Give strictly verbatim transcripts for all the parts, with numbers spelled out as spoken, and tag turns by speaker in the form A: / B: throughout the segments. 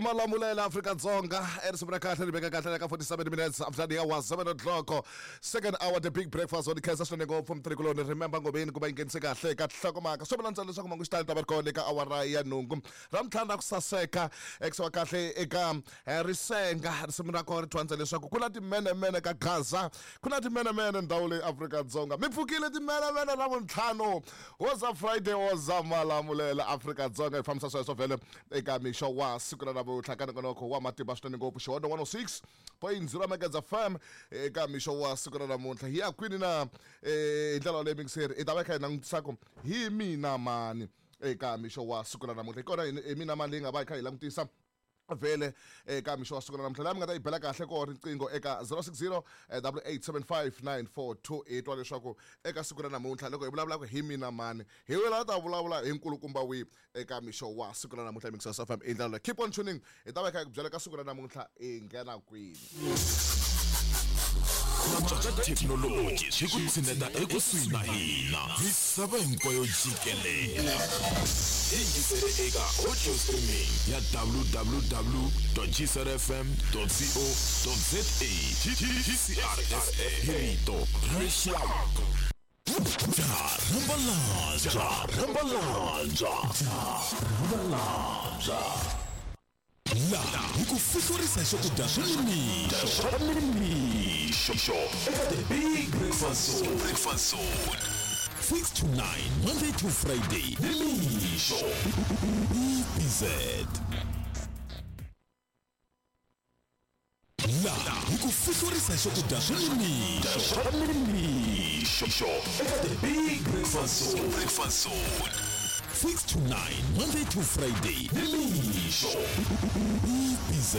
A: Malamulela Afrika Dzonga erisimu ra kahle ri veka kahle ka forty-seven minutes after the hour seven o'clock, second hour, the big breakfast on khensa swinene ngopfu mtirhikuloni Remember Ngobeni ku va yi nghenise kahle ka nhlokomhaka swo vula ntsena leswaku mangu xitalo ta va ri kona eka awara ya nhungu ra ntlhanu ra ku saseka ekusiwa kahle eka risenga. Risimu ra kona ri thwandza leswaku ku na timenemene ka Gaza, ku na timenemene ndhawu leyi Afrika Dzonga. Mi pfukile timenemene ra vuntlhanu woza Friday, woza Malamulela Afrika Dzonga. Hi fambisa sweswo vhele eka mixo wa siku ra namuntlha ka nongonoko wa matimba swinene ngopfu Xihondo one oh six point zero Megahertz F M eka mixo wa siku ra namuntlha. Hi ya kwini na hi ndlela yaleyo mingiseri hi ta va hi kha hi langutisa ku hi mina mani eka mixo wa siku ra namuntlha. Hi kona hi mina mani leyi nga va hi kha hi langutisa vhele eka mixo wa siku ra namuntlha. Laha mi nga ta yi bela kahle ko riqingho eka zero six zero double eight seven five nine four two eight wa leswaku eka siku ra namuntlha loko hi vulavulaka hi mina mani hi wela ta vulavula hi nkulukumba wihi eka mixo wa siku ra namuntlha. Mixo F M i ndlela leyi. Keep on tuning, hi ta va hi kha hi ku byela ka siku ra namuntlha hi nghena kwini.
B: Thekinoloji swi ku tshineta ekusuhi na hina misava hinkwayo jikelele. Yingisele eka audio streaming ya w w w dot g c r f m dot co dot z a. G C R F M hi rito ra rixaka. Rambalanja, rambalanja, rambalanja. La hi ku fihlurisa swakudya swa nimixo swa nimixo eka The Big Breakfast Zone, Breakfast Zone six to nine Monday to Friday nimixo B B Z. La hi ku fihlurisa swakudya swa nimixo swa nimixo eka The Big Breakfast Zone, Breakfast Zone six to nine Monday to Friday nimixo B B Z.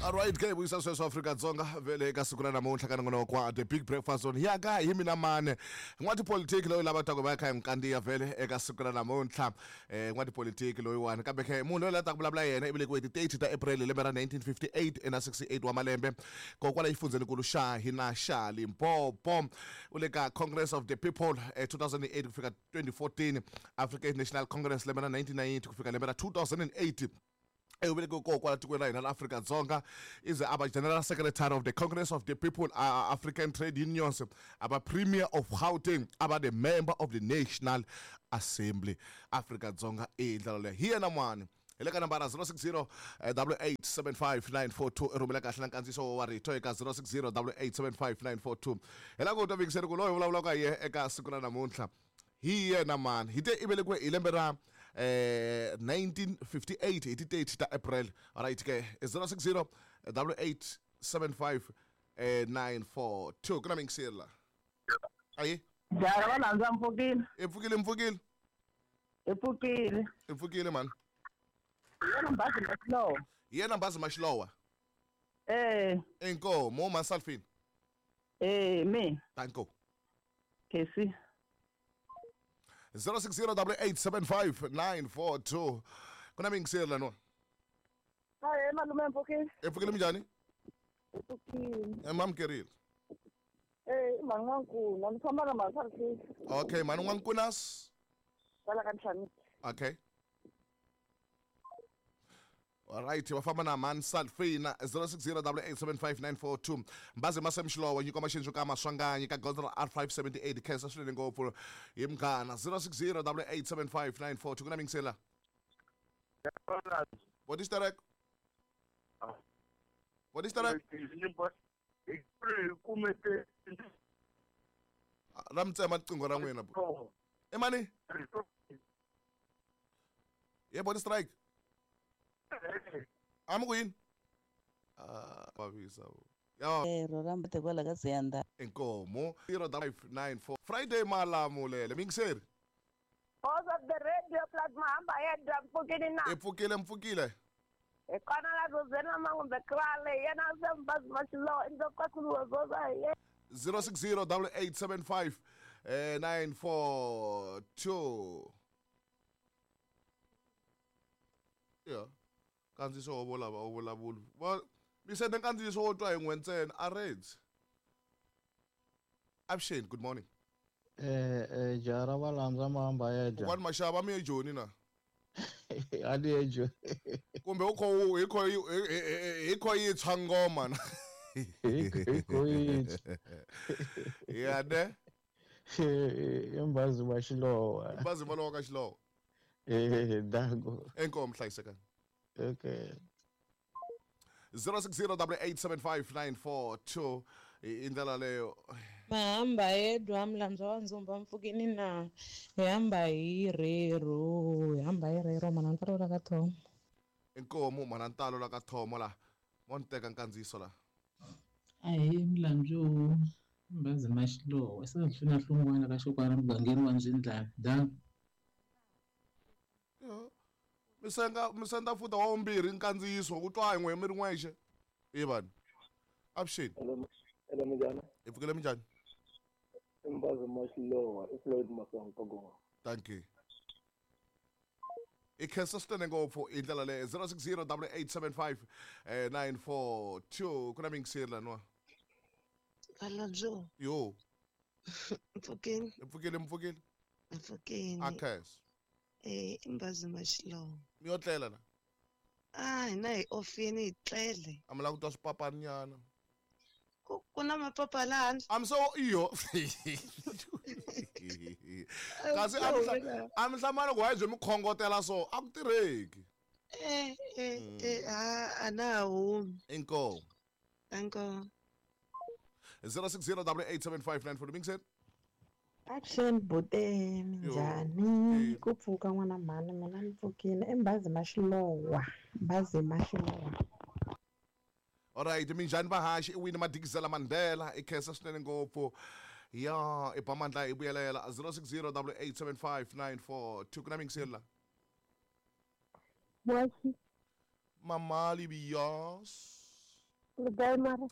A: All right, ke vuyisa sweswo Afrika Dzonga vele eka siku ra namuntlha ka nongonoko wa The Big Breakfast Zone. Ya ka hi mina mane n'watipolitiki loyi lava taka va kha hi n'wi kandziya vele eka siku ra namuntlha, eh n'watipolitiki loyiwani kambe khe munhu loyi la taka vulavula yena i velekiwe hi ti thirty ta April hi lembe ra nineteen fifty-eight ena sixty-eight wa malembe kokwala exifundzhenikulu xa hina xa Limpopo. U le ka Congress of the People eh, two thousand eight ku fika twenty fourteen, African National Congress lembe ra nineteen ninety ku fika lembe ra two thousand eight. U velekiwe kona kwala tikweni ra hina la Afrika Dzonga. Is aba General Secretary of the Congress of the People, uh, African Trade Unions, aba Premier of Gauteng, aba the member of the National Assembly. Afrika Dzonga i ndlela leyi. Hi yena n'wana hi le ka nambara zero six zero double eight seven five nine four two. I rhumela kahle na nkandziyiso wa rito eka zero six zero double eight seven five nine four two. Hi lava ku twa vingiseri ku loyi vulavulaka hi yena eka siku ra namuntlha hi yena mani. Hi te i velekiwe hi lembe ra eh nineteen fifty-eight hi ti thirty ta April. Alright ke zero six zero double eight seven five nine four two. Ku na mingiseri la. Ayi.
C: Jara va landza mpfukile.
A: I pfukile mpfukile.
C: I pfukile.
A: I pfukile mani.
C: Yena Mbazi Mashilowa.
A: Yena Mbazi Mashilowa.
C: Eh.
A: Inkomo Masalfini.
C: Eh me.
A: Danko.
C: Kesi.
A: zero six zero double eight seven five nine four two. Ku na mingiseri la no.
C: Hayi malume mpfukile.
A: I pfukile minjhani?
C: I pfukile.
A: E mamkerile.
C: Eh mani n'wankuna ni famba na Masalfini.
A: Okay, mani n'wankunas.
C: Kwala ka Ntlhanu.
A: Okay. All right, va famba na mani Salfina zero six zero double eight seven five nine four two. Mbazi Masemxilowa nyiko maxindzo ka Maswanganyi ka gondzo ra R five seventy-eight khensa swinene ngopfu hi munghana zero six zero double eight seven five nine four two. Ku na mingisela. What is that? What is that? Ra mi tsema riqingho ra n'wina bo. E mani? Ye body strike. A mi ku yini? Ah, vavisa. Ya.
D: Eh, ro ra mbote kwala ka Ziyanda.
A: Inkomo zero five nine four. Friday Malamulele mingiseri.
C: House of the radio plus mahamba yedwa mpfukile na.
A: I pfukile mpfukile.
C: Hi kona la Rosena Mangumbe Krale yena se Mbazi Mashilowa indzoka zoza ye.
A: zero six zero double eight seven five nine four two. Yeah. Nkandziyiso wo volava wu vulavuli. Va mi sende nkandziyiso wo twa hi n'we ntsena a redzi. Avuxeni, good morning.
E: Eh eh jara va landza mahamba ya dya.
A: Kokwani Mashava mi ye Joni na.
E: A ni yejo.
A: Kumbe u kho hi kho hi kho yi tshwa ngoma na.
E: Hi kho yi.
A: Ya ne?
E: Mbazi wa Xilowa.
A: Mbazi wa lowa ka Xilowa.
E: Eh, dango.
A: Inkomu hlayisekani.
E: Okay.
A: zero six zero double eight seven five nine four two i ndlela leyo.
F: Mahamba yedwa mlandzwa wa ndzumba mpfukini na hi hamba hi rero hi hamba hi rero mana ntalo la ka thomo.
A: Inkomu mana ntalo la ka thomo la mo ni teka nkandziyiso la.
G: Ahi mlandzu Mbazi Maxilowa se hluna hlungwana ka xokwana mugangeni wa Ndzindlana da.
A: Misenga misenda futa wa vumbirhi nkandziyiso ku twa yin'we mi ri n'wexe. I vanhu. Avuxeni.
H: Hello minjhani?
A: Hi pfukile minjhani?
H: Mbazi Maxilowa i Floyd Masongo.
A: Thank you. I khensa swinene ngopfu hi ndlela leyo zero six zero double eight seven five nine four two ku na mingiseri laniwa.
I: Valabyo.
A: Yo.
I: Mpfukeni.
A: Mpfukile mpfukile.
I: Mpfukeni.
A: A khensa.
I: Eh, Mbazi Maxilowa.
A: Mi yo tlela na?
I: Ah, hina hi ofini hi tlele.
A: A mi lava ku twa swipapaninyana.
I: Ku ku na mapapa laha handle.
A: I'm so iyo. Kasi a mi a mi hlamala ku hayi byi mi khongotela so a ku tirheki.
I: Eh eh eh a a na humi.
A: Inkomu.
I: Inkomu.
A: zero six zero double eight seven five nine four mingiseri.
J: Action bute minjhani ku pfuka n'wana mhani mina ni pfukile i Mbazi Maxilowa Mbazi Maxilowa.
A: Alright minjhani vahaxi i wini Madikizela Mandela i khensa swinene ngopfu ya i ba mandla hi vuyelela zero six zero double eight seven five nine four two ku na mingiseri la.
C: Moshi.
A: Mamali Biyos.
C: Le kae mara?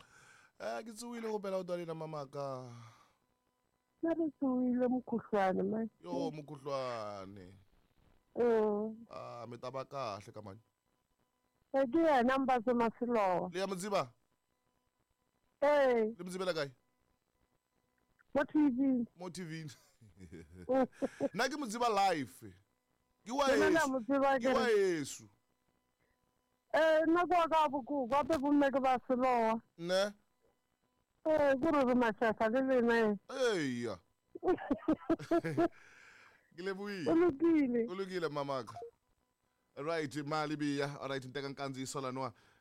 A: Eh ke tsohile go bela o dalila mamaka.
C: Mara tsohile mokhuhlwane man.
A: Yo mokhuhlwane.
C: Eh.
A: Ah mi ta va kahle ka mani.
C: Eh ke yena Mbazi Maxilowa.
A: Le ya Mudziba?
C: Eh.
A: Le Mudzibela kae?
C: Mo T V.
A: Mo T V. Nna ke Mudziba live. Ke wa
C: Yesu.
A: Ke wa Yesu.
C: Eh nna kwa ka bokuku gape bomme ke ba Selowa.
A: Ne?
C: Eh ke re re Mashefa le lena.
A: Eya. Ke lebohile.
C: O lokile.
A: O lokile mamaka. Right mali biya. Alright nteka nkandziyiso laniwa.